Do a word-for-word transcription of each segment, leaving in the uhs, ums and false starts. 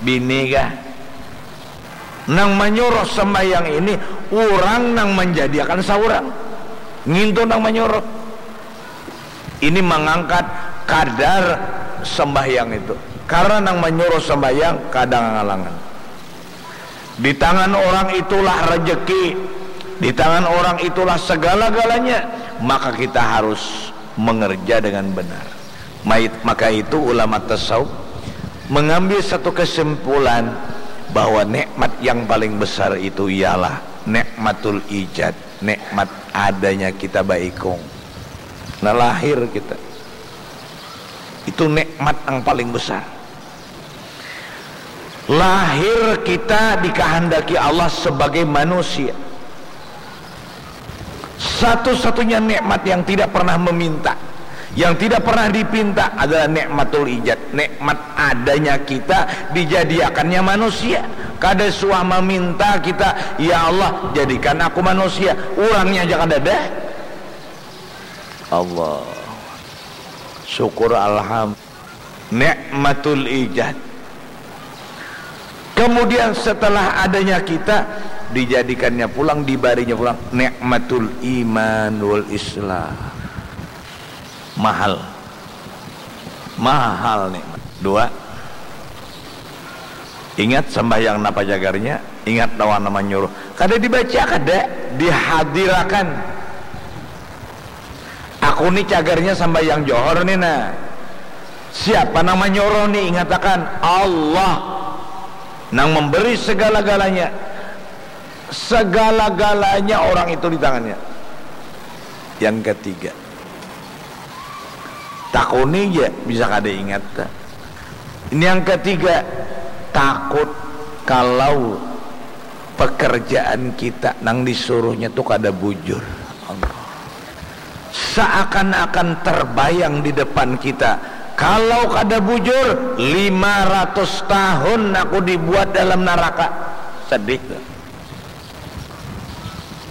Bini kah? Nang manyuruh sembahyang ini urang nang manjadiakan saurang. Ngintu nang manyuruh. Ini mangangkat kadar sembahyang itu. Karena nang manyuruh sembahyang kada ngalangan. Di tangan orang itulah rejeki, di tangan orang itulah segala-galanya. Maka kita harus mengerja dengan benar. Mait-, maka itu ulama tasawuf mengambil satu kesimpulan bahwa nikmat yang paling besar itu ialah nikmatul ijad, nikmat adanya kita baikung. Nah, lahir kita. Itu nikmat yang paling besar. Lahir kita dikahandaki Allah sebagai manusia. Satu-satunya nikmat yang tidak pernah meminta, yang tidak pernah dipinta adalah nikmatul ijad, nikmat adanya kita dijadiakannya manusia. Kada suah meminta kita, "Ya Allah, jadikan aku manusia." Urangnya aja kada ada. Allah. Syukur alham. Nikmatul ijad. Kemudian setelah adanya kita, dijadikannya pulang, dibarinya pulang nikmatul iman wal islam. Mahal. Mahal nikmat. Dua. Ingat sembahyang napa jagarnya, ingat lawan nama nyuruh. Kada dibaca, kada dihadirakan. Aku ni cagarnya sambayang johor ni nah. Siapa nang manyuruh ni? Ingatakan, Allah nang memberi segala-galanya. Segala-galanya orang itu di tangannya. Yang ketiga, takuni ja bisa kada ingat. Ini yang ketiga, takut kalau pekerjaan kita nang disuruhnya tu kada bujur. Allah. Seakan-akan terbayang di depan kita, kalau kada bujur, lima ratus tahun aku dibuat dalam naraka. Sedih tu.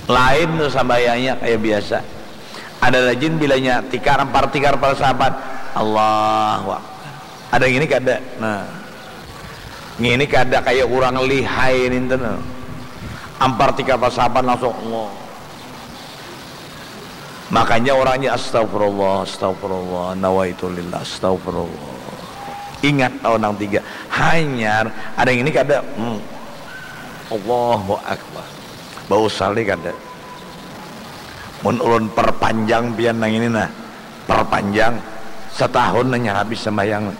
Lain tu sambayangnya kaya biasa. Ada rajin bilanya tikar, ampar tikar para sahabat. Allahu Akbar. Ada yang ini kada. Nah. Ngini kada kaya urang lihai ninten. Ampar tikar pasapan langsung Allah. Makanya orangnya astagfirullah, astagfirullah, nawaitu lillah, astagfirullah. Ingat tahu nang tiga. Hanyar, ada yang ini kada. Hmm. Allahu Akbar. Bau salih kada. Mun ulun perpanjang pian nang ini nah. Perpanjang. Setahun hanya habis sembahyang.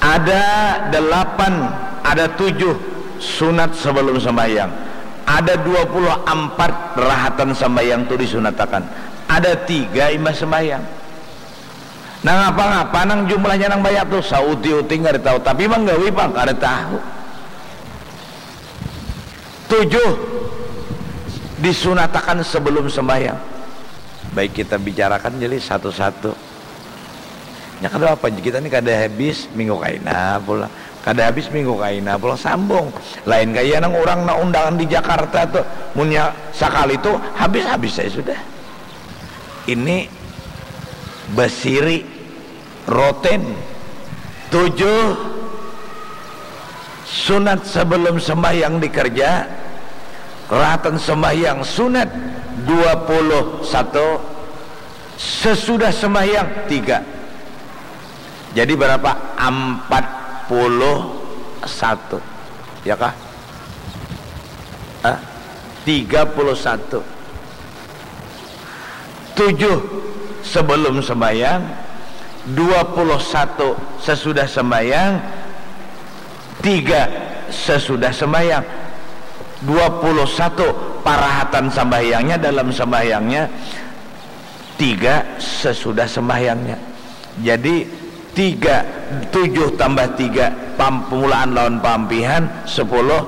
Ada delapan, ada tujuh sunat sebelum sembahyang. Ada dua puluh empat rahatan sembahyang tu disunatakan. Ada tiga imbah sembahyang. Nah, ngapa-ngapa nang jumlahnya nang banyak tu, sauti-uti kada tahu, tapi manggawi pang kada tahu. Tujuh disunatakan sebelum sembahyang. Baik, kita bicarakan jadi satu-satu. Ya, kada apa, kita ni kada habis minggu kaina pulang, kada habis minggu kaina pulang, sambung. Lain kaya nang urang na undangan di Jakarta tu, munnya sakali tu habis-habis saya sudah. Ini basiri, roten. Tujuh sunat sebelum sembahyang dikerja, rahatan sembahyang sunat dua puluh satu, sesudah sembahyang tiga. Jadi berapa? Empat puluh satu. Ya kah? Ah, tiga puluh satu. Tujuh sebelum sembahyang, dua puluh satu sesudah sembahyang, tiga sesudah sembahyang. Dua puluh satu parahatan sembahyangnya dalam sembahyangnya, tiga sesudah sembahyangnya. Jadi, tiga, tujuh tambah tiga, pam-, pemulaan lawan paampihan, sepuluh,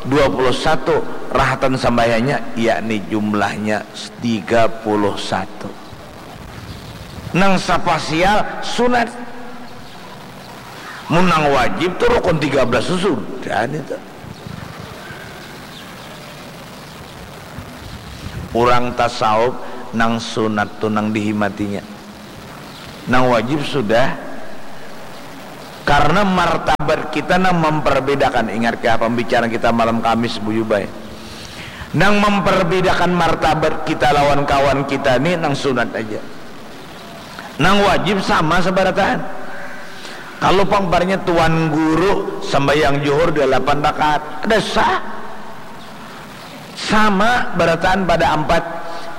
dua puluh satu, rahatan sambahyangnya, yakni jumlahnya tiga puluh satu. Nang sapasial sunat. Mun nang wajib tu rukun tiga belas tu sudah nitu. Urang tasawuf nang sunat tu nang dihimatinya. Nang wajib sudah. Karena martabat kita nang memperbedakan, ingat kah pembicaraan kita malam Kamis, Buyubai? Nang memperbedakan martabat kita lawan kawan kita ni nang sunat aja. Nang wajib sama sabarataan. Kalau pangbarnya tuan guru sembahyang juhur delapan rakaat, ada sah. Sama barataan pada ampat,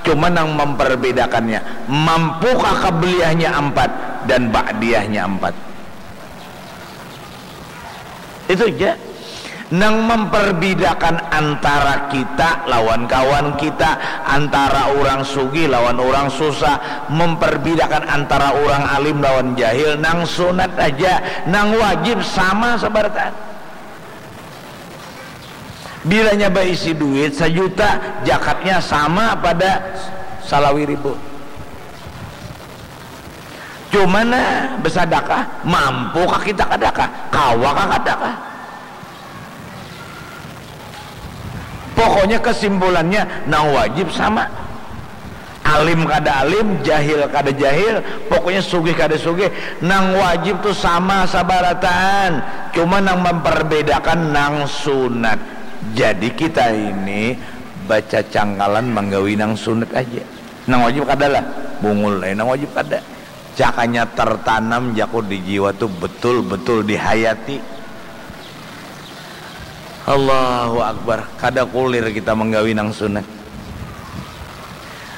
cuma nang memperbedakannya, mampukah qabliyahnya ampat dan ba'diyahnya ampat. Itu ja. Nang memperbedakan antara kita lawan kawan kita, antara orang sugih lawan orang susah, memperbedakan antara orang alim lawan jahil, nang sunat aja, nang wajib sama sabarataan. Bilanya baisi duit sajuta, jakatnya sama pada salawi ribu. Cuma nah, besadakah, mampu kah kita kadakah, kawa kah kadakah? Pokoknya kesimpulannya, nang wajib sama. Alim kada alim, jahil kada jahil, pokoknya sugih kada sugih, nang wajib tu sama sabarataan, cuma nang memperbedakan nang sunat. Jadi kita ini bacacangkalan manggawi nang sunat aja, nang wajib kada lah, bungul ai nang wajib kada. Cakanya tertanam jaku di jiwa tu betul-betul dihayati. Allahu Akbar, kada kulir kita manggawi nang sunat.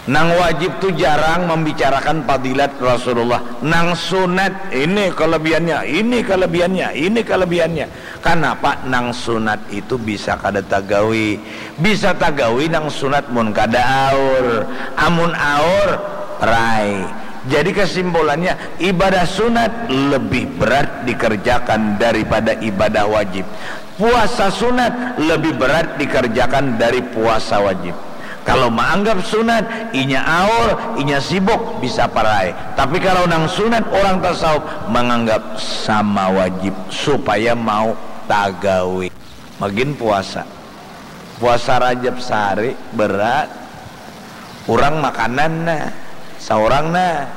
Nang wajib tu jarang membicarakan fadilat Rasulullah. Nang sunat, ini kelebihannya, ini kelebihannya, ini kelebihannya. Kanapa nang sunat itu bisa kada tagawi? Bisa tagawi nang sunat mun kada aur. Amun aur, rai. Jadi kesimpulannya, ibadah sunat lebih berat dikerjakan daripada ibadah wajib. Puasa sunat lebih berat dikerjakan dari puasa wajib. Kalau maanggap sunat, inya aur, inya sibuk, bisa parai. Tapi kalau nang sunat, orang tasawuf manganggap sama wajib supaya mau tagawi. Magin puasa. Puasa Rajab sahari berat. Urang makanan nah, saurang nah.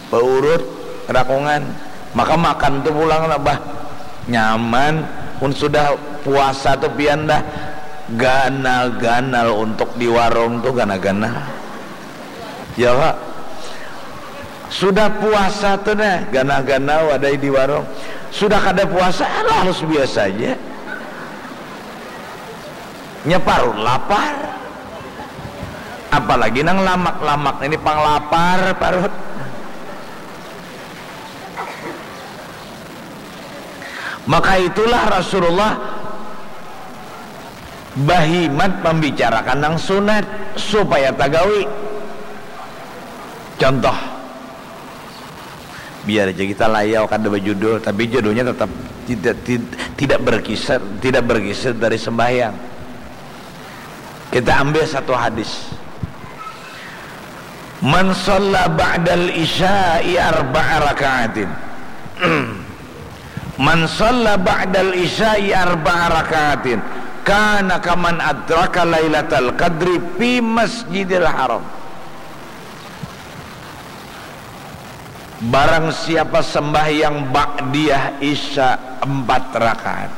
Baurut rakungan. Maka makan tu pulang lah bah. Nyaman. Mun sudah puasa tu pian dah ganal-ganal untuk di warung tu ganal-ganal. Ya, Pak. Sudah puasa tu nah, ganal-ganal wadai di warung. Sudah kada puasa, alah, halus biasa aja. Nya parut lapar. Apalagi nang lamak-lamak ini pang lapar parut. Maka itulah Rasulullah bahimat membicarakan nang sunat supaya tagawi. Contoh, biar aja kita layau kada bajudul, tapi judulnya tetap tidak tid- tidak berkisar, tidak bergeser dari sembahyang. Kita ambil satu hadis. Man shalla ba'dal isya'i arba'a raka'atin. Man shalla ba'dal isya'i arba'a raka'atin kana kaman adraka lailatal qadri fi masjidil haram. Barang siapa sembahyang ba'diyah isya empat rakaat.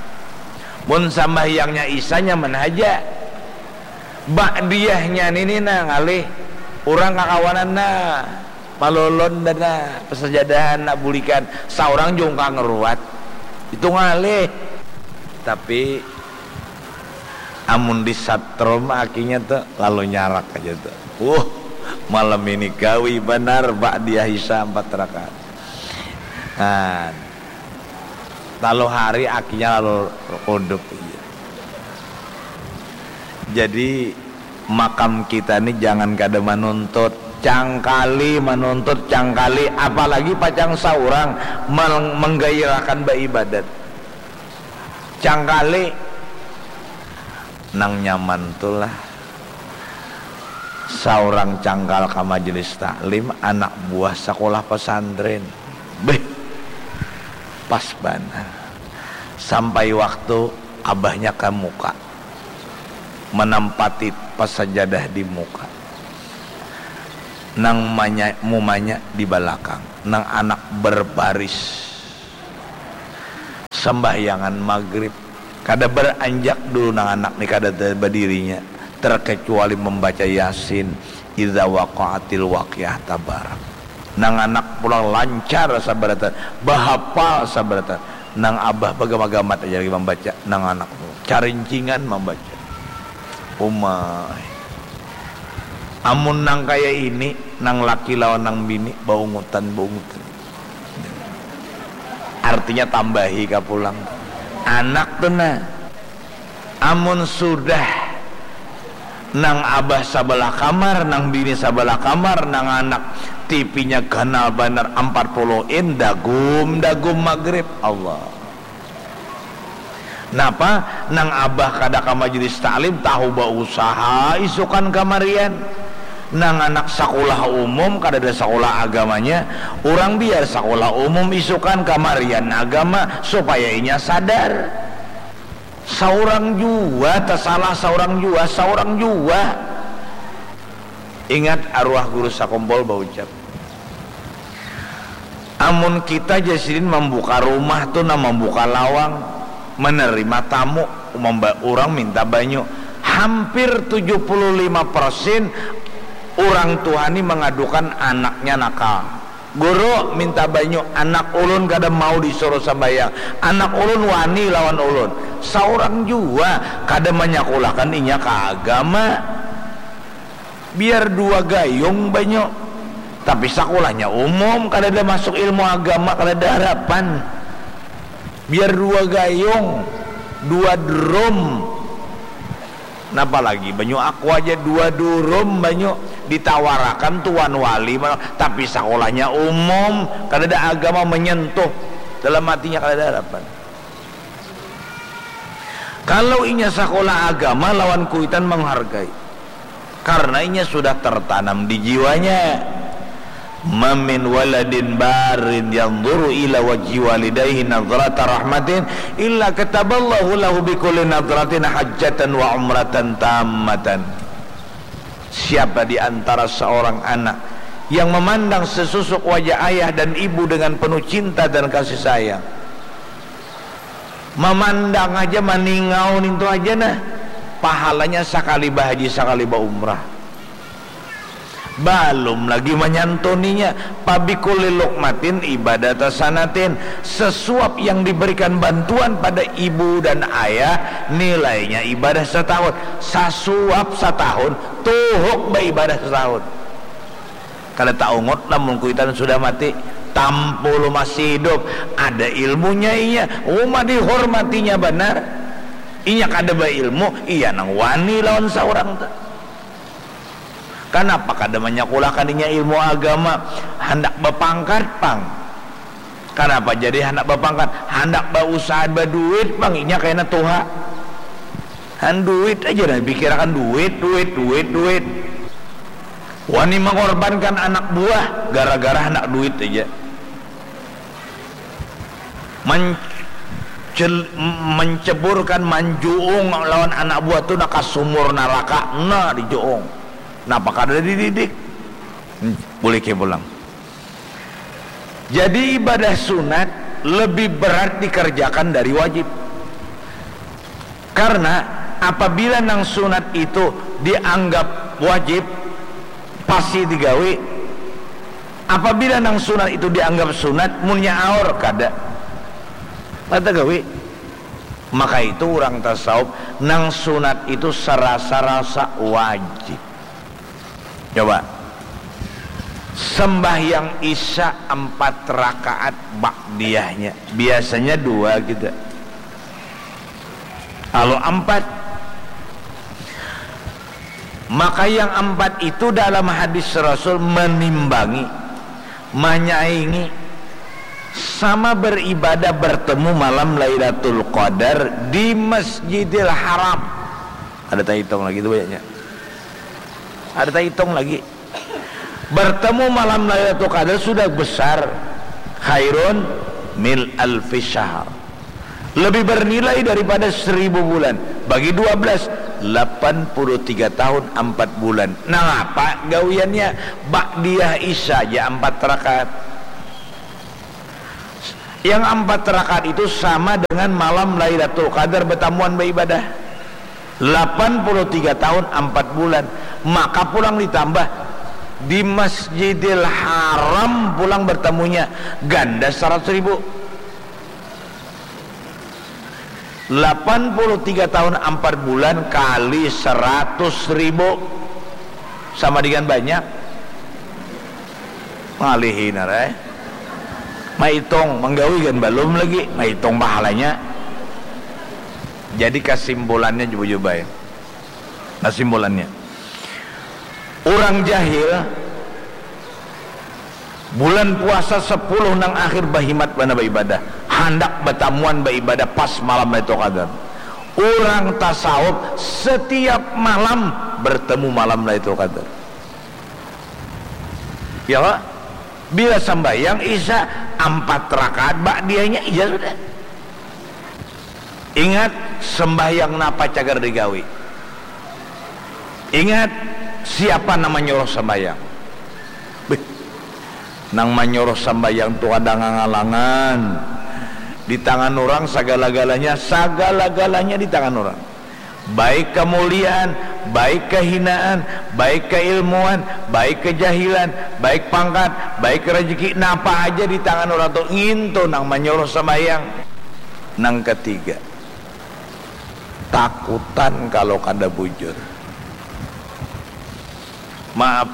Mun sambahyangnya isya nyaman haja. Ba'diyahnya nini nah ngalih. Urang kakawanan nah. Malolon dah nah. Pesajadahan nak bulikan. Saurang jungkang ruat. Itu ngalih. Tapi amun di satrom akinya tu lalu nyarak aja tu. Uh, malam ini gawi banar ba'diyah isya empat rakaat. Nah, lalu hari akinya lalu kudup. Jadi makam kita ni jangan kada manuntut, cangkali manuntut, cangkali, apalagi pacang saurang meng- menggairahkan baibadat. Cangkali nang nyaman tu lah. Saurang cangkal ka majelis taklim anak buah sakulah pasantren. Beh, pas banar. Sampai waktu abahnya ka muka. Manampati pasajadah di muka. Nang manya- mumanya di balakang. Nang anak berbaris. sambahyangan magrib. Kada baranjak dulu nang anak ni, kada badirinya, terkecuali membaca Yasin, idza waqa'atil waqiah, tabarak. Nang anak pulang lancar sabarataan, bahapal sabarataan. Nang abah bagama-gamat aja lagi mambaca, nang anak tu carincingan mambaca. Umai. Amun nang kaya ini, nang laki lawan nang bini, baungutan, baungutan. Artinya tambahi ka pulang. Anak tu nah. Amun sudah nang abah sabalah kamar, nang bini sabalah kamar, nang anak T V-nya ganal banar ampat puluh in, dagum, dagum magrib. Allah. Napa? Nang abah kada ka majelis taklim, tahu bausaha isukan kamarian. Nang anak sakulah umum, kadada sakulah agamanya, urang biar sakulah umum isukan kamarian agama, supaya inya sadar. Saurang jua tasalah, saurang jua, saurang jua. Ingat arwah guru sakumpul baucap, amun kita, jar sidin, mambuka rumah tu nah, mambuka lawang, menerima tamu, mamba-, urang minta banyu, hampir tujuh puluh lima persen urang tuha ni mangadukan anaknya nakal. Guru, minta banyu, anak ulun kada mau disuruh sambayang, anak ulun wani lawan ulun. Saurang jua kada manyakulahkan inya ka agama. Biar dua gayung banyu, tapi sakulahnya umum, kadada masuk ilmu agama, kadada harapan. Biar dua gayung, dua drum, napa lagi banyu aqua aja, dua durum banyu ditawarakan tuan wali, tapi sakulahnya umum, kadada agama menyentuh dalam hatinya, kadada harapan. Kalau inya sakulah agama lawan kuitan menghargai, karena inya sudah tertanam di jiwanya. Ma min waladin barin yanzuru ila wajhi walidayhi nazrata rahmatin illa kataballahu lahu bikulli nazratin hajjatan wa umratan tammatan. Siapa di antara seorang anak yang memandang sesusuk wajah ayah dan ibu dengan penuh cinta dan kasih sayang, mamandang aja, maningau nintu aja nah, pahalanya sakali bahaji, sakali baumrah. Balum lagi manyantuninya, pabikulli luqmatin ibadah tasanatin, sesuap yang diberikan bantuan pada ibu dan ayah, nilainya ibadah setahun. Sasuap satahun, tuhuk baibadah setahun. Kada taungut lamun kuitan sudah mati, tampulu masih hidup. Ada ilmunya inya, uma dihormatinya banar. Inya kada bailmu, iya nang wani lawan saurang tu. Kanapa kada manyakulahkan inya ilmu agama? Handak bapangkat pang. Kanapa jadi handak bapangkat? Handak bausaha baduit pang inya kaina tuha. Han duit aja dah pikirakan, duit, duit, duit, duit. Wani mengorbankan anak buah gara-gara handak duit aja. Mencel-, menceburkan, manjuung lawan anak buah tu nah ka sumur naraka, nah dijuung. Napa kada dididik? Hmm, bulik pulang. Jadi ibadah sunat lebih berat dikerjakan dari wajib. Karena apabila nang sunat itu dianggap wajib, pasti digawi. Apabila nang sunat itu dianggap sunat, munnya aur kada. Kada gawi. Maka itu urang tasawuf, nang sunat itu sarasa-rasa wajib. Coba. Sembahyang Isya empat rakaat ba'diyahnya. Biasanya dua gitu. Kalau empat. Maka yang empat itu dalam hadis Rasul menimbangi, menyaingi, sama beribadah bertemu malam Lailatul Qadar di Masjidil Haram. Ada tahitung lagi tu banyaknya. Ada tahitung lagi. Bertemu malam Lailatul Qadar sudah besar. Khairun min alfi syahr. Lebih bernilai daripada seribu bulan. Bagi dua belas, delapan puluh tiga tahun, empat bulan. Nangapa gawiannya? Ba'diyah Isya aja empat rakaat. Yang ampat rakaat itu sama dengan malam Lailatul Qadar batamuan baibadah. Lapan puluh tiga tahun ampat bulan. Maka pulang ditambah, di Masjidil Haram pulang bertemunya, ganda saratus ribu. Lapan puluh tiga tahun ampat bulan kali saratus ribu sama dengan banyak. Ngalihi narai. Maitung, manggawi gin balum lagi, maitung pahalanya. Jadi kasimpulannya, Bujubai. Kasimpulannya, urang jahil bulan puasa sepuluh nang akhir bahimat banar baibadah, handak batamuan baibadah pas malam Lailatul Qadar. Urang tasawuf setiap malam bertemu malam Lailatul Qadar. Ya, Pak? Bila sambahyang Isya, ampat rakaat ba'diyahnya, iya sudah. Ingat, sembahyang napa cagar digawi? Ingat, siapa nang manyuruh sambahyang? Bih, nang manyuruh sambahyang tu kada ngangalangan. Di tangan urang sagala-galanya, sagala-galanya di tangan urang. Baik kamuliaan, baik kahinaan, baik kailmuan, baik kajahilan, baik pangkat, baik rajaki, napa haja di tangan urang tu, ngintu nang manyuruh sambahyang. Nang katiga, takutan kalau kada bujur. Maaf,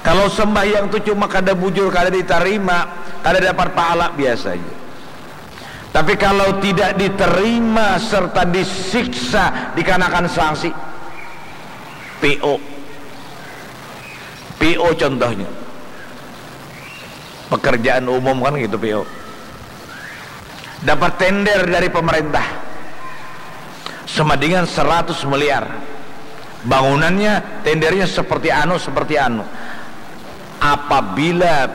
kalau sembahyang tu cuma kada bujur, kada ditarima, kada dapat pahala, biasa aja. Tapi kalau tidak diterima serta disiksa, dikenakan sanksi, P O. P O contohnya. Pekerjaan umum kan gitu, P O. Dapat tender dari pemerintah. Semadingan seratus miliar. Bangunannya, tendernya seperti anu, seperti anu. Apabila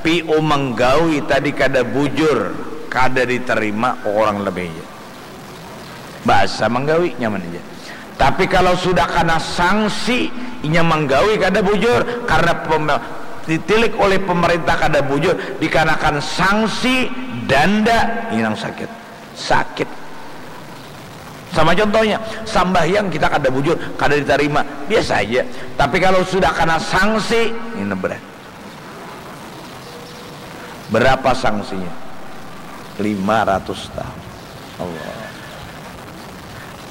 P O manggawi tadi kada bujur, kada diterima, kurang lebihnya. Bahasa manggawi, nyaman aja. Tapi kalau sudah kena sanksi, inya manggawi kada bujur, karena pem-, ditilik oleh pemerintah kada bujur, dikenakan sanksi, danda, ini nang sakit. Sakit. Sama contohnya, sambahyang kita kada bujur, kada ditarima, biasa aja. Tapi kalau sudah kena sanksi, ini berat. Berapa sanksinya? Lima ratus tahun. Allah.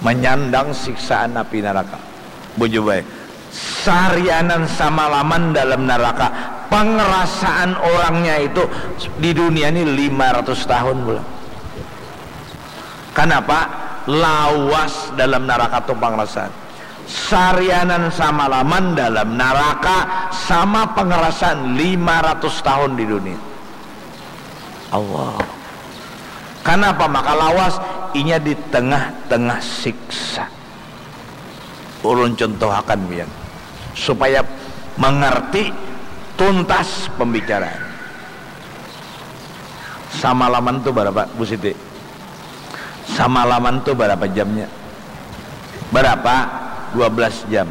Menyandang siksaan api neraka. Bujubai. Sarianan samalaman dalam neraka. Pengerasaan orangnya itu di dunia ini lima ratus tahun pulang. Kenapa? Lawas dalam neraka tu pengerasaan. Sarianan samalaman dalam naraka sama pangarasan lima ratus tahun di dunia. Allah. Kanapa maka lawas? Inya di tengah-tengah siksa. Ulun contohakan pian supaya mangarti tuntas pambicaraan. Samalaman tu barapa, Bu Siti? Samalaman tu barapa jamnya? Barapa? Dua belas jam.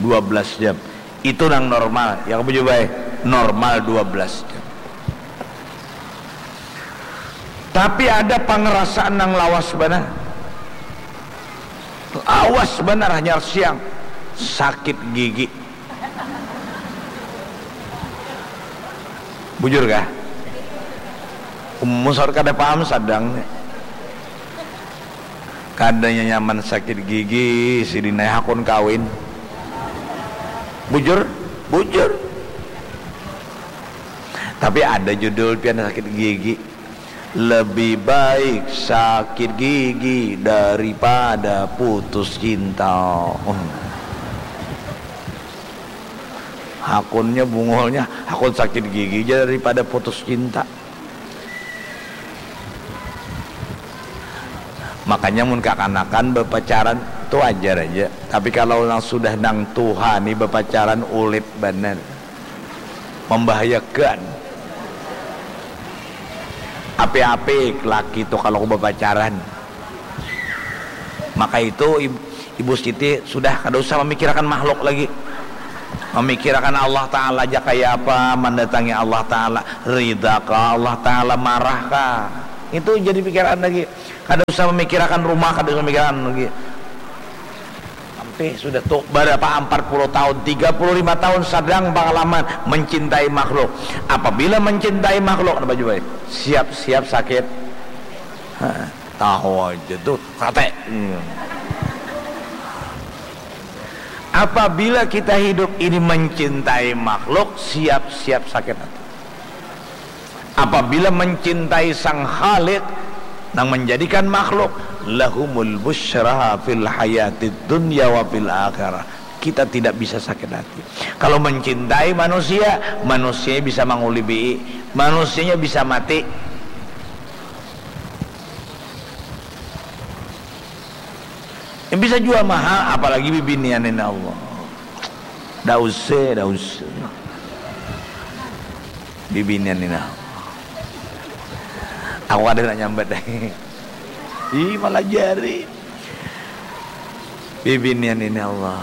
Dua belas jam. Itu nang normal. Ya, kamu coba, eh. Normal dua belas jam. Tapi ada pangerasaan nang lawas banar. Lawas banar hanyar siang. Sakit gigi. Bujur kah? Umus kada paham sadang ni. Kadanya nyaman sakit gigi, sidin ai hakun kawin. Bujur? Bujur. Tapi ada judul pian sakit gigi. Lebih baik sakit gigi daripada putus cinta. Hakunnya bungulnya, hakun sakit gigi ja daripada putus cinta. Makanya mun kakanakan bapacaran tu wajar aja. Tapi kalau nang sudah nang tuha ni bapacaran ulit banar. Membahayakan. Apik-apik laki tu kalau bapacaran. Maka itu Ib-, Ibu Siti sudah kada usah memikirakan makhluk lagi. Memikirakan Allah Ta'ala aja kaya apa, mendatangi Allah Ta'ala, ridha kah Allah Ta'ala, marah kah? Itu jadi pikiran lagi. Kada usah memikirakan rumah, kada usah memikirakan lagi. Sampai sudah tuh berapa, empat puluh tahun, tiga puluh lima tahun sedang pengalaman mencintai makhluk. Apabila mencintai makhluk, apa juga? Siap-siap sakit. Hah, tahu aja tuh, kate. Hmm. Apabila kita hidup ini mencintai makhluk, siap-siap sakit hati. Apabila mencintai Sang Khalik nang menjadikan makhluk, lahumul busyra fil hayatid dunya wa fil akhirah. Kita tidak bisa sakit hati. Kalau mencintai manusia, manusianya bisa mangulibi, manusianya bisa mati. Yang bisa jual mahal, apalagi bibinian ini Allah. Dah usah, dah usah. Bibinian ini Allah. Aku kada nak nyambat dah. Ih, malah jari. Bibinian ini Allah.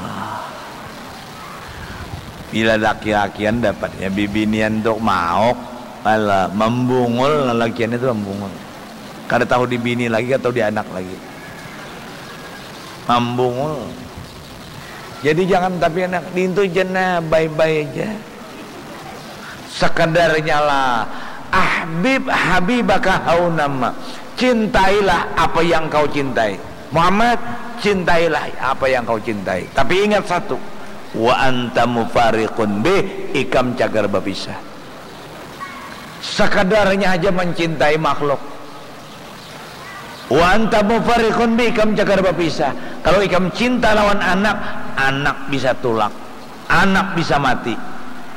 Bila laki-lakian dapatnya bibinian untuk mauk, alah, membungul lalakian itu membungul. Kada tahu di bini lagi atau di anak lagi. Membungul. Jadi jangan tapi anak dintu jena bye-bye aja. Sekedarnya lah. Ahbib habibaka haunama. Cintailah apa yang kau cintai. Muhammad, cintailah apa yang kau cintai. Tapi ingat satu, wa anta mufariqun bih, ikam cagar bapisah. Sekadarnya aja mencintai makhluk. Wa anta mufariqun bih, ikam cagar bapisah. Kalau ikam cinta lawan anak, anak bisa tulak, anak bisa mati.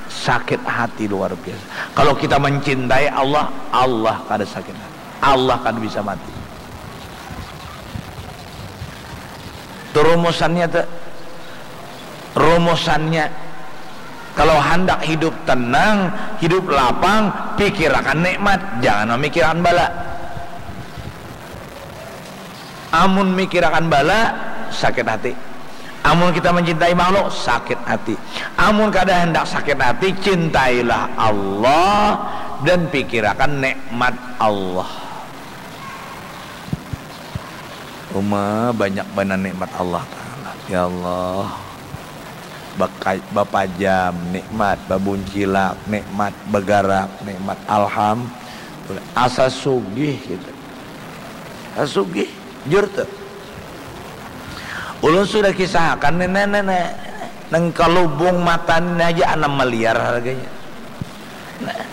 Sakit hati luar biasa. Kalau kita mencintai Allah, Allah kada sakit hati. Allah kada bisa mati. Itu rumusannya tuh. Rumusannya, kalau handak hidup tenang, hidup lapang, pikirakan nikmat, jangan memikirakan bala. Amun mikirakan bala, sakit hati. Amun kita mencintai makhluk, sakit hati. Amun kada hendak sakit hati, cintailah Allah dan pikirakan nikmat Allah. Uma banyak banar nikmat Allah Ta'ala. Ya Allah. Baka-, bapajam, nikmat, babuncilak, nikmat, bagarak, nikmat. Alhamdulillah. Asa sugih kita. Asa sugih. Jujur tuh. Ulun sudah kisahakan nih, nih, nih, nih. Nang kalubung mata ini aja anam miliar harganya. Nah.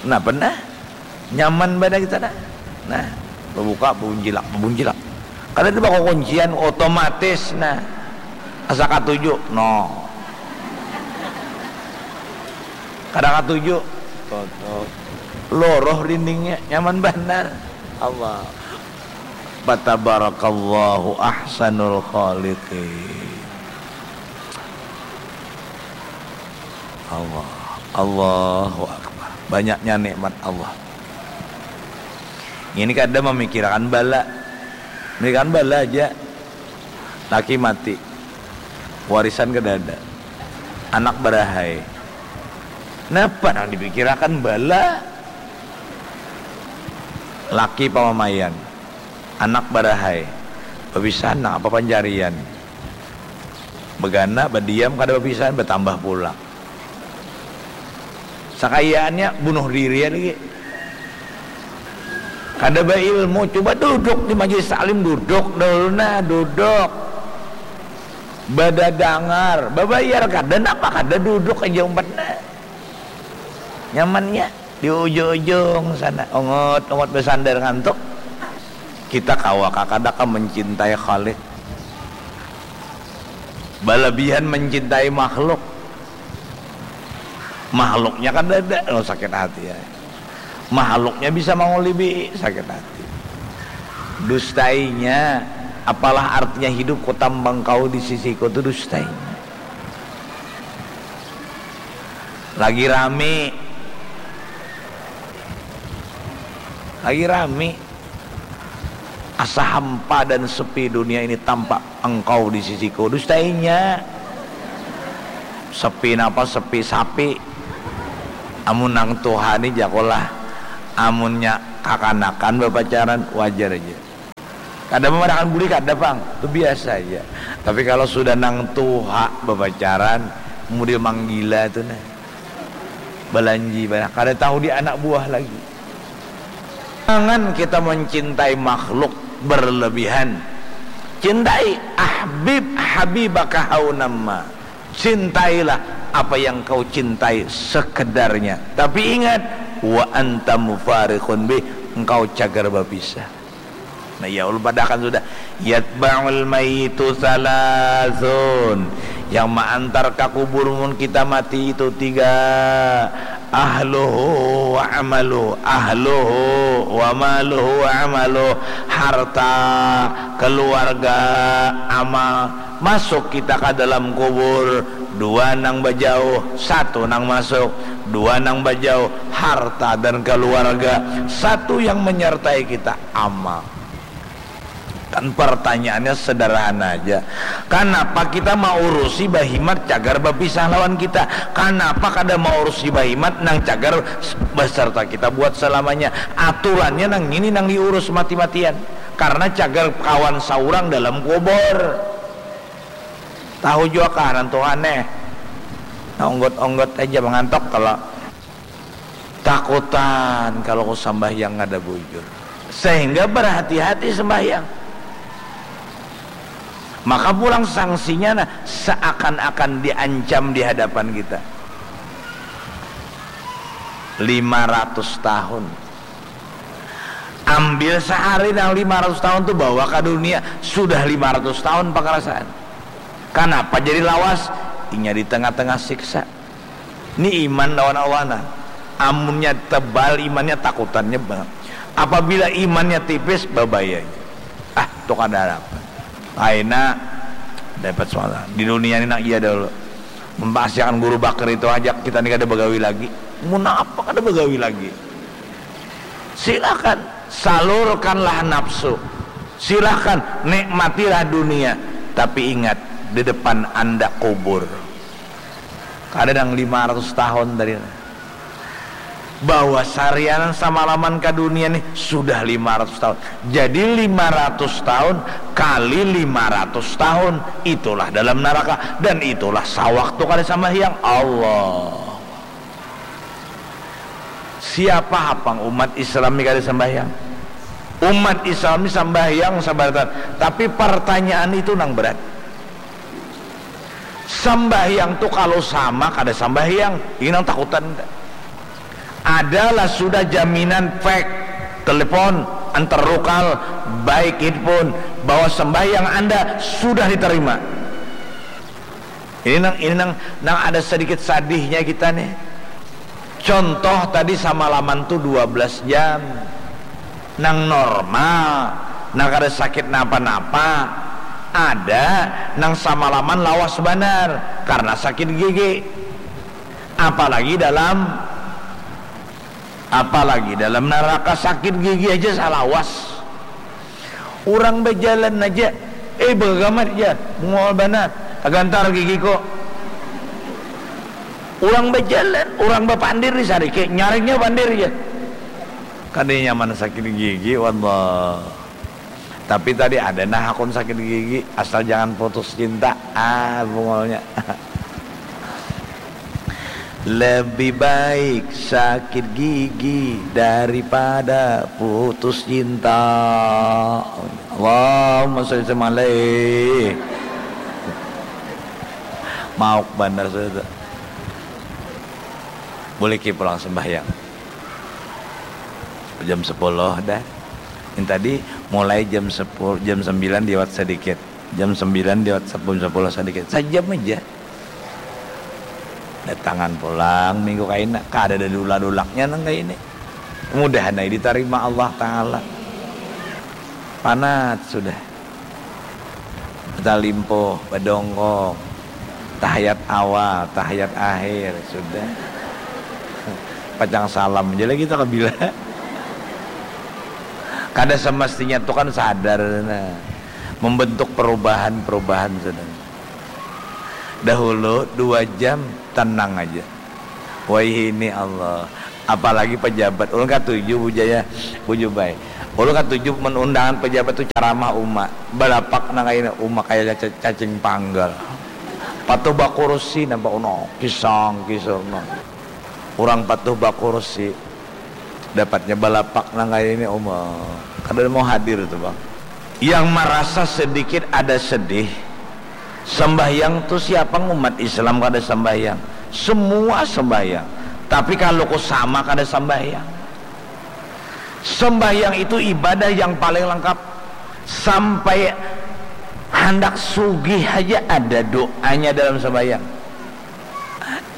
Nah, pernah? Nyaman banar kita, nah. Nah, babuka, babuncilak, babuncilak. Kada ada bakukuncian, otomatis, nah. Asa katuju, no. Kada katuju, tutup. Loroh dindingnya, nyaman banar. Allah. Fatabarakallahu ahsanul khaliqin. Allah. Allahu Akbar. Banyaknya nikmat Allah. Ini kada memikirkan bala. Memikirkan bala aja. Laki mati. Warisan kada ada. Anak barahai. Napa nang dipikirakan bala? Laki pamamaian. Anak barahai. Bapisahan nang apa pancarian. Bagana, badiam, kada bapisahan, batambah pula. Sakayaannya bunuh diri ya lagi. Kada bailmu, coba duduk di majelis taklim, duduk dahulu nah, duduk. Badadangar, babayar kada, napa kada, duduk aja umpat nah. Nyamannya di ujung-ujung sana, ongot-ongot basandar ngantuk. Kita kawa kah kada kah mencintai Khalik? Balabihan mencintai makhluk. Makhluknya kan ada, oh, sakit hati ya. Makhluknya bisa mangulibi, sakit hati. Dustainya, apalah artinya hidup ku tambang kau di sisiku tu, dustainya. Lagi rami. Lagi rami. Asa hampa dan sepi dunia ini tampak engkau di sisiku. Dustainya. Sepi napa? Sepi sapi. Amun nang tuha ni jakulah. Amunnya Kakanakan bapacaran wajar aja. Kada mamadahakan budi kada pang, tu biasa aja. Tapi kalau sudah nang tuha bapacaran, mudah manggila tu nah. Balanji banyak, kada tahu di anak buah lagi. Jangan kita mencintai makhluk berlebihan. Cintai ahbib habibaka haunamma. Cintailah apa yang kau cintai sekedarnya. Tapi ingat, wa anta mufariqun bih, engkau cagar bapisah. Nah, ya Allah, padahakan sudah. Yatba'ul mayyitu salasun. Yang maantar ka kubur mun kita mati itu tiga. Ahluhu wa amaluh. Ahluhu wa maluhu wa amaluh. Harta, keluarga, amal. Masuk kita ka dalam kubur, dua nang bajauh, satu nang masuk, dua nang bajauh, harta dan keluarga, satu yang menyertai kita, amal. Kan pertanyaannya sederhana aja. Kanapa kita maurusi bahimat cagar bapisah lawan kita? Kanapa kada maurusi bahimat nang cagar beserta kita buat selamanya? Aturannya nang ini nang diurus mati-matian. Karena cagar kawan saurang dalam kubur. Tahu jua kah nantuhan eh. Nah, onggot-onggot aja mangantok kalau takutan kalau ku sambahyang kada bujur. Sehingga berhati-hati sembahyang. Maka pulang sanksinya nah seakan-akan diancam di hadapan kita. Lima ratus tahun. Ambil sehari nang lima ratus tahun tu bawa ke dunia, sudah lima ratus tahun pengerasaan. Kenapa jadi lawas? Inya di tengah-tengah siksa. Ini iman lawan Allah nah. Amunnya tebal imannya takutannya banget. Apabila imannya tipis babaya. Ah, tu kada apa. Aina dapat suara. Di dunia ini nak iya dulu. Memasiakan guru bakar itu aja kita ini kada bagawi lagi. Mun apa kada bagawi lagi? Silakan salurkanlah nafsu. Silakan nikmatilah dunia. Tapi ingat, di depan anda kubur. Kada nang lima ratus tahun tadi. Bawa sarianan samalaman ka dunia nih sudah lima ratus tahun. Jadi lima ratus tahun kali lima ratus tahun itulah dalam neraka dan itulah sawaktu kada sambahyang. Allah. Siapa hapang umat Islam ni kada sambahyang? Umat Islam ni sambahyang sabaratan, tapi pertanyaan itu nang berat. Sambahyang tu kalau sama kada sambahyang, ini nang takutan. Adalah sudah jaminan fake, telepon, antar rukal, baik handphone, bahwa sembahyang anda sudah diterima. Ini nang, ini nang, nang ada sedikit sadihnya kita nih. Contoh tadi samalaman tu dua belas jam. Nang normal, nang kada sakit napa-napa. Ada nang samalaman lawas banar karena sakit gigi. Apalagi dalam, apalagi dalam neraka sakit gigi aja salawas. Urang bajalan aja, eh, bagagamat ja, bungul banar, tagantar gigiku. Urang bajalan, urang bapandir di sariki, nyaringnya pandir ja. Kada nyaman sakit gigi, wallah. Tapi tadi ada nah hakun sakit gigi, asal jangan putus cinta. Ah, bungulnya. Lebih baik sakit gigi daripada putus cinta. Allahumma sholli wa sallim alaih. Mauk banar sudah tu. Buliki pulang sembahyang. Jam sepuluh dah. Yang tadi mulai jam sepuluh, jam sembilan liwat sedikit. Jam sembilan liwat sepuluh, sepuluh sedikit. Sajam aja. Datangan pulang minggu kaina, kada ada dulak-dulaknya nang kaini. Mudahan ai ditarima Allah Ta'ala. Panat sudah. Batalimpuh, badongkong. Tahayat awal, tahayat akhir, sudah. Pacang salam aja lagi kita kabila. Kada semestinya tu kan sadar, nah. Membentuk perubahan-perubahan, sudah. Dahulu dua jam tenang aja. Wahini Allah, Apalagi pejabat. Ulun katuju bujaya, bujubai. Ulun katuju menundangan pejabat tu ceramah uma. Balapak nang kaina uma kaya ca-, cacing panggal. Patuh bakursi nampak uno, kisang kisang no. Urang patuh bakursi dapatnya balapak nang kaini uma. Kada mau hadir tu bang. Yang merasa sedikit ada sedih, sembahyang tu siapa umat Islam kada sembahyang? Semua sembahyang. Tapi kalau ku sama kada sembahyang. Sembahyang itu ibadah yang paling lengkap. Sampai handak sugih aja ada doanya dalam sembahyang.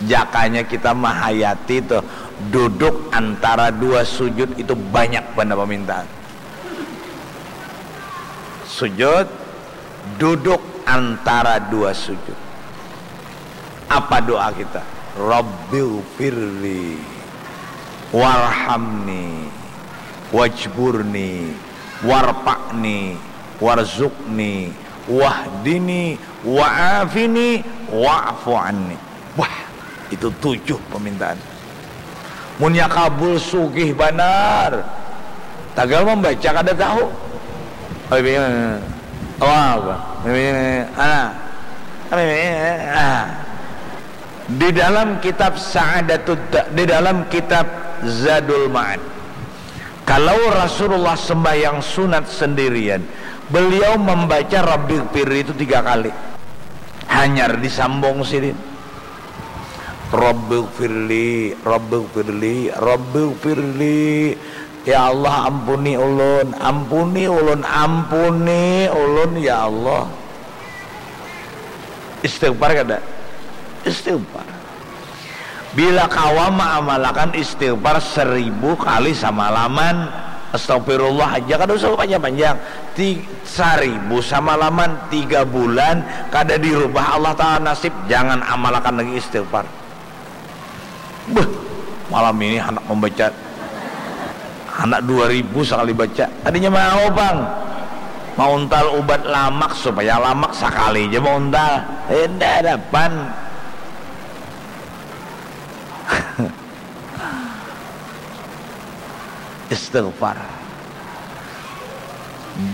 Jakanya kita mahayati tuh, duduk antara dua sujud itu banyak benda permintaan. Sujud, duduk antara dua sujud. Apa doa kita? Rabbighfirli warhamni wajburni warpa'ni warzukni wahdini wa'afini wa'fu anni. Wah, itu tujuh permintaan. Munnya kabul sugih banar. Tagal membaca kada tahu. Apa? Ah. Di dalam kitab Sa'adatud, di dalam kitab Zadul Ma'ad, kalau Rasulullah sembahyang sunat sendirian, beliau membaca Rabbighfirli itu tiga kali. Hanyar disambung sidin. Rabbighfirli, Rabbighfirli, Rabbighfirli. Ya Allah, ampuni ulun, ampuni ulun, ampuni ulun ya Allah. Istighfar kada? Istighfar. Bila kawa maamalakan istighfar seribu kali samalaman, astagfirullah aja, kada usah panjang-panjang. Ti-, saribu samalaman, tiga bulan, kada dirubah Allah Ta'ala nasib, jangan amalakan lagi istighfar. Beuh, malam ini handak membaca, handak dua ribu sekali baca. Tadinya mau bang, mauntal ubat lamak supaya lamak sekali aja mauntal. Indah dapan. Istighfar.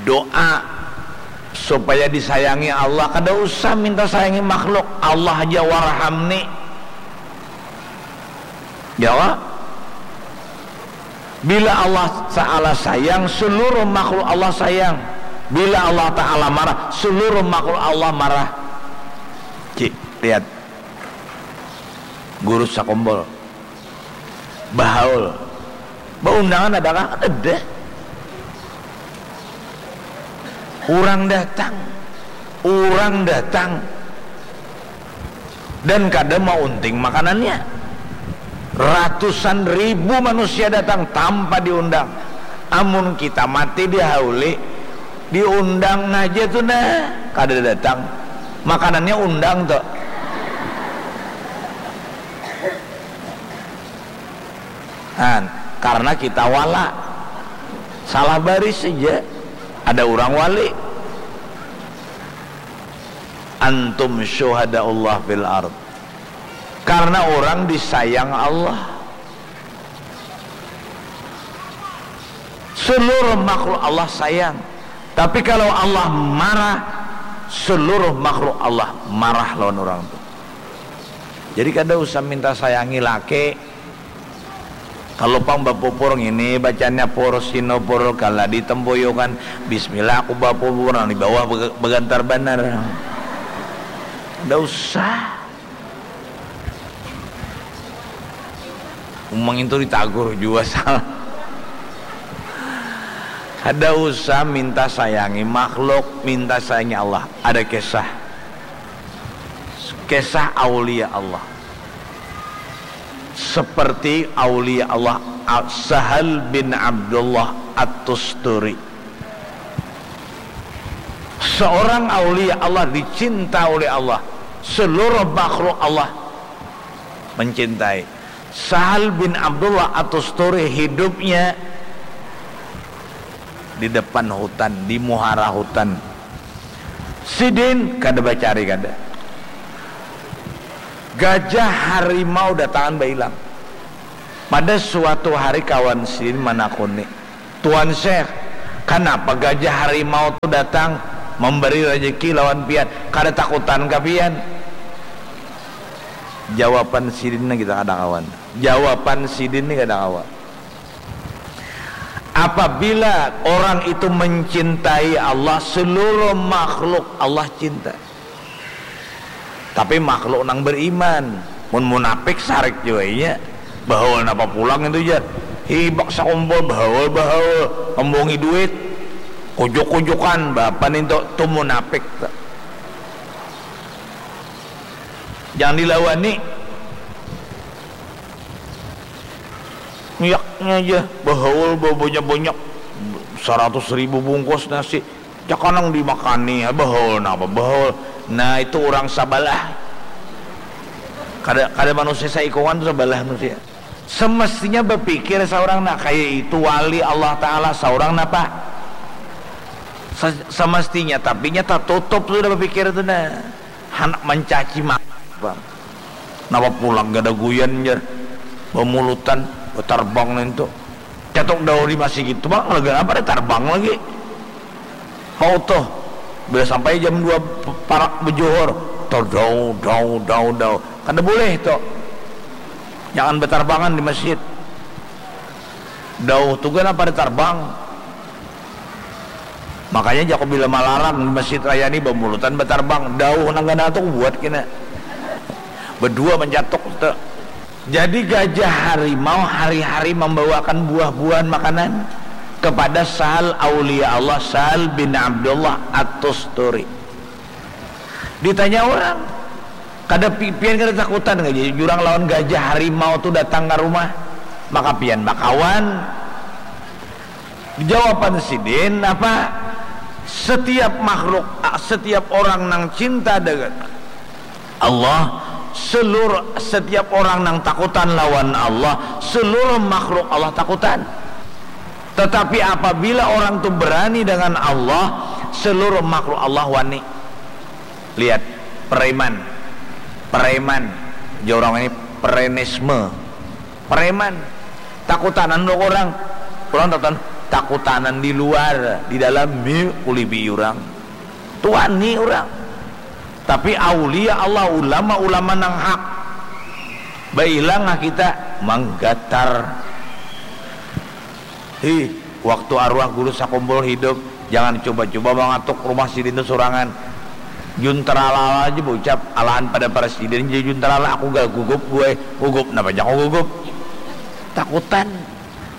Doa supaya disayangi Allah, kada usah minta sayangi makhluk, Allah aja, warhamni. Ya Allah. Bila Allah Ta'ala sayang, seluruh makhluk Allah sayang. Bila Allah Ta'ala marah, seluruh makhluk Allah marah. Cik, lihat. Guru Sakombol. Bahaul. Baundangan adakah? Ada. Urang datang. Urang datang. Dan kada maunting makanannya. Ratusan ribu manusia datang tanpa diundang. Amun kita mati dihauli, diundang aja tu nah, kada datang. Makanannya undang tu. Nah, karena kita wala, salah baris saja, ada orang wali. Antum syuhadaullah fil ard. Karena orang disayang Allah. Seluruh makhluk Allah sayang. Tapi kalau Allah marah, seluruh makhluk Allah marah lawan orang tu. Jadi kada usah minta sayangi laki. Kalau pang bapupur ngini bacanya pur sino pur kala di tempoyokan, bismillah aku bapupur, nang di bawah bega-, begantar banar. Kada usah. Umang itu ditagur jua salah. Kada usah minta sayangi makhluk, minta sayangi Allah. Ada kisah. Kisah aulia Allah. Seperti aulia Allah Sahal bin Abdullah At-Tusturi. Seorang aulia Allah dicinta oleh Allah. Seluruh makhluk Allah mencintai. Sahal bin Abdullah At-Tusturi hidupnya di depan hutan, di muhara hutan. Sidin kada bacari kada. Gajah harimau datangan bailang. Pada suatu hari kawan sidin manakuni, "Tuan Syekh, kanapa gajah harimau tu datang mambari rajaki lawan pian? Kada takutan kah pian?" Jawaban sidin ni kita kada kawa. Jawaban sidin ni kada kawa. Apabila orang itu mencintai Allah, seluruh makhluk Allah cinta. Tapi makhluk nang beriman, mun munapik sarik jua inya. Bahaul napa pulang itu jar. Hibak sakumpul bahaul-bahaul, membungi duit. Kujuk-kujukan, bapa nintu tu munapik tu. Jangan dilawani. Miaknya aja bahaul babanyak-banyak, saratus ribu bungkus nasi. Cak kanang dimakani, ha, bahaul napa bahaul. Nah, itu urang sabalah. Kada, kada manusia saikungan tu sabalah manusia. Semestinya bapikir saurang, nah, kaya itu wali Allah Ta'ala saurang napa? Se-, semestinya, tapi nya tatutup sudah bapikir tu, nah. Handak mancaci maki, Bang. Napa pulang gadaguyan, jar. Bamulutan, batarbang nintu. Catuk dauh di masigit tu, Bang, laga apa ada tarbang lagi. Kau tuh, bila sampai jam dua p-, parak bejuhur, tuh, dau, dau, dau, dau. Kada boleh tuh. Jangan bertarbangan di masjid. Dauh tu kan apa ada tarbang. Makanya jaku bila malarang di Masjid Raya ni bamulutan batarbang. Dauh nang ganal tu kubuat kena. Bedua mancatuk tu. Jadi gajah harimau hari-hari membawakan buah-buahan makanan kepada Sahal Aulia Allah, Sahal bin Abdullah At-Tusturi. Ditanya orang, "Kada pi-, pian kada takutan kah jurang lawan gajah harimau tu datang ka rumah? Maka pian bakawan." Jawaban sidin apa? Setiap makhluk, a-, setiap orang nang cinta dengan Allah, seluruh, setiap orang nang takutan lawan Allah, seluruh makhluk Allah takutan. Tetapi apabila orang tu berani dengan Allah, seluruh makhluk Allah wani. Lihat, preman. Preman. Jar urang ini prenisme. Preman. Takutanan lo orang. Orang takutan, takutanan di luar, di dalam mi kulibi urang. Tu wani urang. Tapi aulia Allah, ulama-ulama nang hak. Bailang kita manggatar. Hi, waktu arwah guru sakumpul hidup, jangan cuba-cuba mangatuk rumah sidin tu surangan. Juntralala aja baucap, alahan pada presiden jadi juntrala, aku gak gugup gue. Gugup, napa aja aku gugup? Takutan.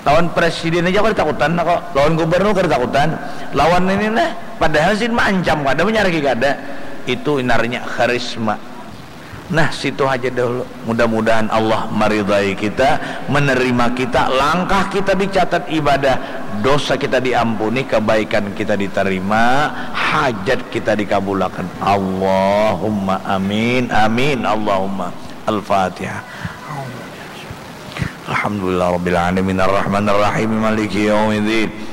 Lawan presiden aja kada takutan kok. Lawan gubernur kada takutan. Lawan ini nah, padahal sidin maancam kada, manyariki kada. Itu inarnya karisma. Nah, situ haja dahulu. Mudah-mudahan Allah maridai kita, menerima kita, langkah kita dicatat ibadah, dosa kita diampuni, kebaikan kita diterima, hajat kita dikabulakan. Allahumma amin, amin, Allahumma. Al-Fatihah. Alhamdulillah Rabbil Alamin, Ar-Rahman Ar-Rahim, Maliki Yawmiddin.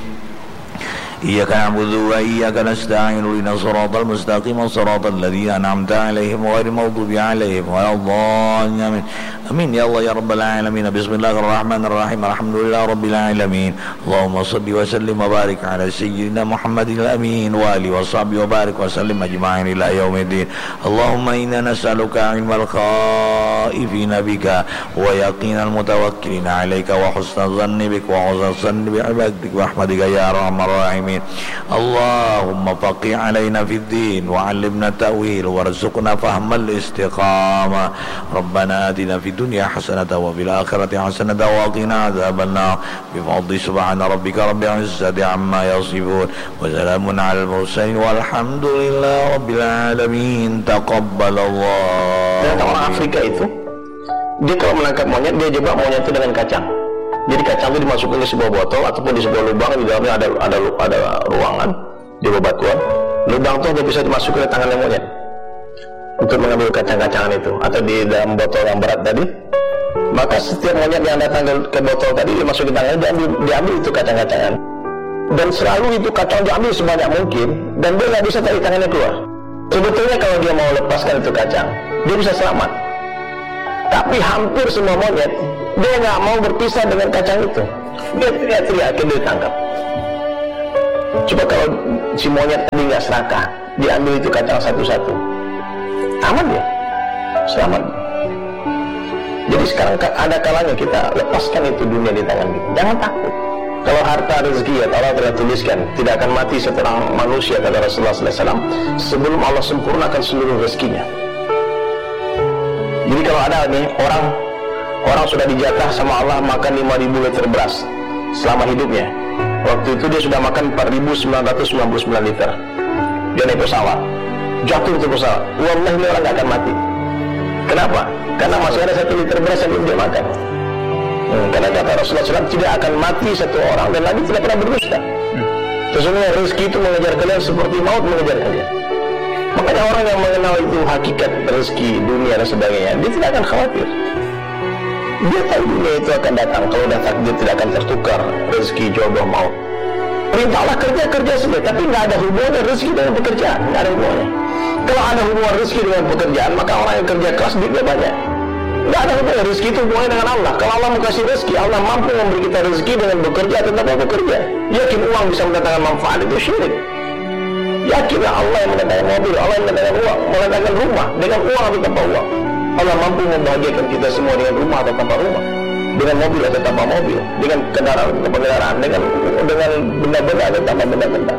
Iyyaka na'budu wa iyyaka nasta'in, ihdinas siratal mustaqim, siratal ladzina an'amta 'alaihim ghairil maghdubi 'alaihim waladdallin. Amin. Amin ya Allah ya Rabbal Alamin. Bismillahirrahmanirrahim. Alhamdulillah Rabbil Alamin. Allahumma salli wa sallim wa barik ala sayyidina Muhammadil amin wa alihi wa sahbihi wa barik wa sallim ajma'in ila yaumiddin. Allahumma inna nas'aluka ilmal khaifina bika wa yaqinal mutawakkilina alaika wa husna zanni bik wa husna zanni bi ibadik wa rahmatika ya arhamar rahimin. Allahumma faqih alaina fid din wa allimna ta'wil warzuqna fahmal istiqamah. Rabbana atina fid dunya hasanatan wa fil akhirati hasanatan wa qina adzabannar. Bifadli subhana rabbika rabbil izzati amma yasifun. Wa salamun alal mursalin walhamdulillahi rabbil alamin. Taqabbalallah. Ternyata orang Afrika itu, dia kalau menangkap monyet, dia jebak monyet itu dengan kacang. Jadi kacang itu dimasukkan ke sebuah botol ataupun di sebuah lubang, di dalamnya ada ada ada ruangan di bebatuan. Lubang itu hanya bisa dimasuki oleh tangannya monyet untuk mengambil kacang-kacangan itu, atau di dalam botol yang berat tadi. Maka setiap monyet yang datang ke, ke botol tadi, dimasuki tangannya, diambil, diambil itu kacang-kacangan. Dan selalu itu kacang diambil sebanyak mungkin, dan dia nggak bisa tarik tangannya keluar. Sebetulnya kalau dia mau lepaskan itu kacang, dia bisa selamat. Tapi hampir semua monyet, dia nggak mau berpisah dengan kacang itu. Dia teriak-teriak, akhirnya ditangkap. Coba kalau si monyet tadi nggak serakah, diambil itu kacang satu-satu, aman dia, selamat. Jadi sekarang ka- ada kalanya kita lepaskan itu dunia di tangan kita. Jangan takut. Kalau harta rezeki ya Allah telah tuliskan, tidak akan mati seorang manusia, kata Rasulullah sallallahu alaihi wasallam, sebelum Allah sempurnakan seluruh rezekinya. Jadi kalau ada nih orang orang sudah dijatah sama Allah makan lima ribu liter beras selama hidupnya. Waktu itu dia sudah makan empat ribu sembilan ratus sembilan puluh sembilan liter. Dia naik pesawat, jatuh itu pesawat. Wallahi, ini orang nggak akan mati. Kenapa? Karena masih ada satu liter beras yang belum dia makan. Hmm, karena kata Rasulullah sallallahu alaihi wasallam, tidak akan mati satu orang dan Nabi tidak pernah berdusta. Sesungguhnya rezeki itu mengejar kalian seperti maut mengejar kalian. Makanya orang yang mengenal itu hakikat rezeki, dunia dan sebagainya, dia tidak akan khawatir. Dia tahu dunia itu akan datang, kalau dah takdir tidak akan tertukar, rezeki, jodoh, maut. Perintah Allah kerja, kerja saja, tapi nggak ada hubungannya rezeki dengan pekerjaan, nggak ada hubungannya. Kalau ada hubungan rezeki dengan pekerjaan, maka orang yang kerja keras duitnya banyak. Nggak ada hubungannya, rezeki itu hubungannya dengan Allah. Kalau Allah mau kasih rezeki, Allah mampu memberi kita rezeki dengan bekerja atau tanpa bekerja. Yakin uang bisa mendatangkan manfaat, itu syirik. Yakinlah Allah yang mendatangkan mobil, Allah yang mendatangkan uang, mendatangkan rumah dengan uang atau tanpa uang. Allah mampu membahagiakan kita semua dengan rumah atau tanpa rumah, dengan mobil atau tanpa mobil, dengan kendaraan atau tanpa kendaraan, dengan dengan benda-benda atau tanpa benda-benda,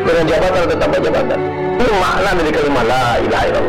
dengan jabatan atau tanpa jabatan. Ini makna dari kalimat la ilaha illallah.